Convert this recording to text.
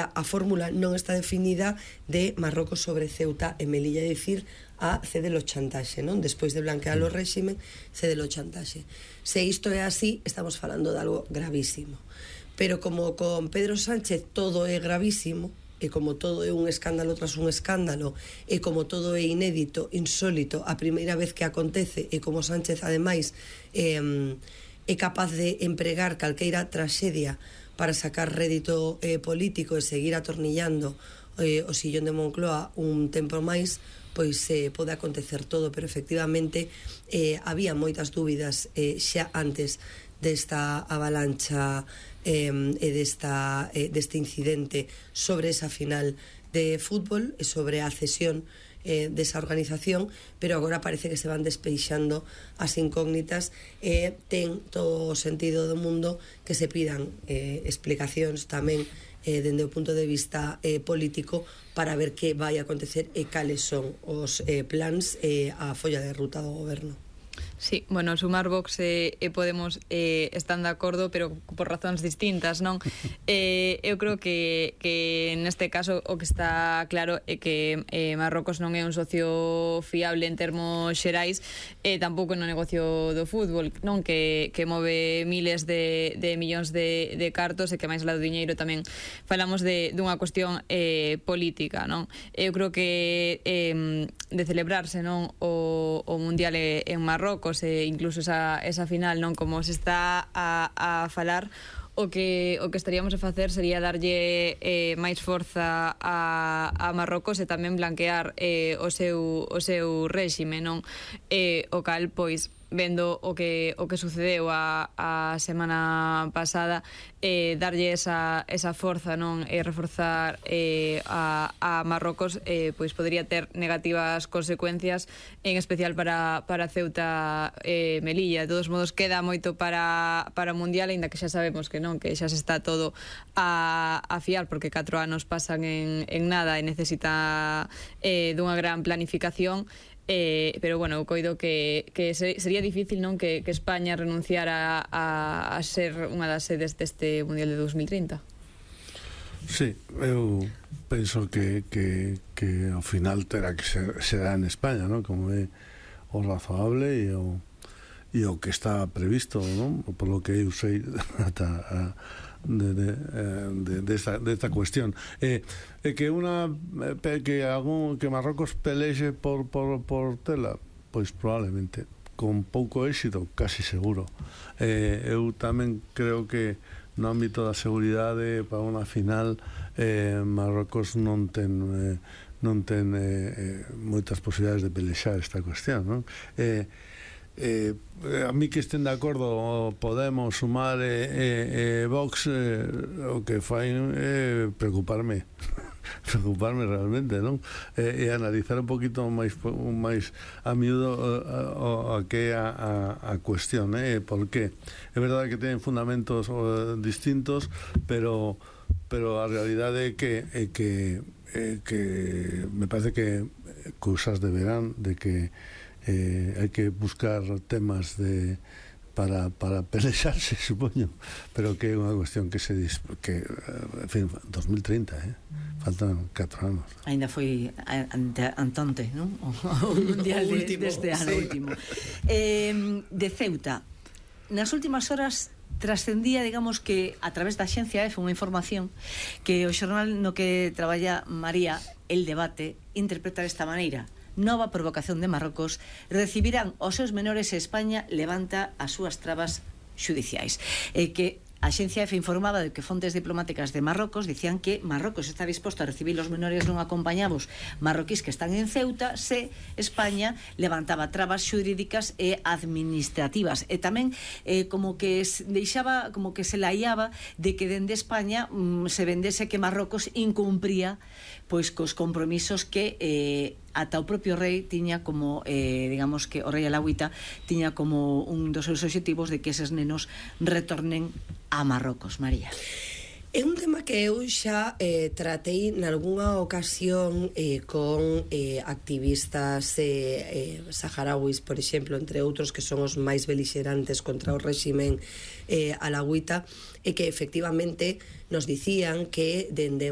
a fórmula non está definida de Marrocos sobre Ceuta e Melilla, é dicir, a cédelo chantaxe, non? Despois de blanquear o réxime, cédelo chantaxe. Se isto é así, estamos falando de algo gravísimo. Pero como con Pedro Sánchez todo é gravísimo, e como todo é un escándalo tras un escándalo, e como todo é inédito, insólito, a primeira vez que acontece, e como Sánchez, ademais, é capaz de empregar calqueira traxedia para sacar rédito político e seguir atornillando o sillón de Moncloa un tempo máis, pois pode acontecer todo, pero efectivamente había moitas dúbidas xa antes desta avalancha e deste incidente sobre esa final de fútbol e sobre a cesión desa organización, pero agora parece que se van despeixando as incógnitas e ten todo o sentido do mundo que se pidan explicacións tamén dende o punto de vista político para ver que vai acontecer e cales son os plans e a folla de ruta do goberno. Sí, bueno, sumar Vox e Podemos están de acordo, pero por razóns distintas, non? Eu creo que neste caso o que está claro é que Marrocos non é un socio fiable en termos xerais e tampouco no negocio do fútbol, non? Que move miles de millóns de cartos e que máis lá do diñeiro tamén falamos dunha cuestión política, non? Eu creo que de celebrarse, non, o Mundial en Marrocos e incluso esa final, non, como se está a falar, o que estaríamos a facer sería darlle máis forza a Marrocos e tamén blanquear o seu réxime, non? O cal, pois, vendo o que sucedeu a semana pasada, darlle esa forza, non, e reforzar a Marrocos, pois podría ter negativas consecuencias, en especial para Ceuta e Melilla. De todos modos, queda moito para o Mundial, aínda que xa sabemos que non, que xa se está todo a fiar, porque 4 anos pasan en nada e necesita dunha gran planificación. Pero bueno, eu coido que sería difícil, non, que España renunciara a ser unha das sedes deste Mundial de 2030. Sí, eu penso que ao final terá que será en España, non? Como é o razoable e o que está previsto, non? Por lo que eu sei ata desta cuestión que Marrocos pelexe por tela, pois probablemente con pouco éxito, casi seguro. Eu tamén creo que no ámbito da seguridade para unha final Marrocos non ten moitas posibilidades de pelexar esta cuestión, non? A mí que estén de acordo Podemos, Sumar e Vox, o que fai é preocuparme realmente, non? E analizar un poquito máis a miúdo a que é a cuestión, por qué. É verdade que teñen fundamentos distintos, pero a realidade é que me parece que cousas deberán de que hai que buscar temas para pelexarse, supoño, pero que é unha cuestión que en fin, 2030, faltan 4 anos. Ainda foi antante, non? O Mundial deste ano último. De Ceuta, nas últimas horas trascendía, digamos, que a través da Axencia EFE unha información que o xornal no que traballa María, El Debate, interpreta desta maneira: nova provocación de Marrocos, recibirán os seus menores e España levanta as súas trabas xudiciais. Que a Axencia EFE informaba de que fontes diplomáticas de Marrocos dicían que Marrocos está disposto a recibir os menores non acompañados marroquís que están en Ceuta se España levantaba trabas xurídicas e administrativas. E tamén como que deixaba, como que se laiaba de que dende España se vendese que Marrocos incumpría pois cos compromisos que ata o propio rei tiña como, digamos que o rei Alauita tiña como un dos seus obxectivos de que eses nenos retornen a Marrocos. María. É un tema que eu xa tratei nalgúnha ocasión con activistas saharauis, por exemplo, entre outros, que son os máis belixerantes contra o réximen alauita, e que efectivamente nos dicían que dende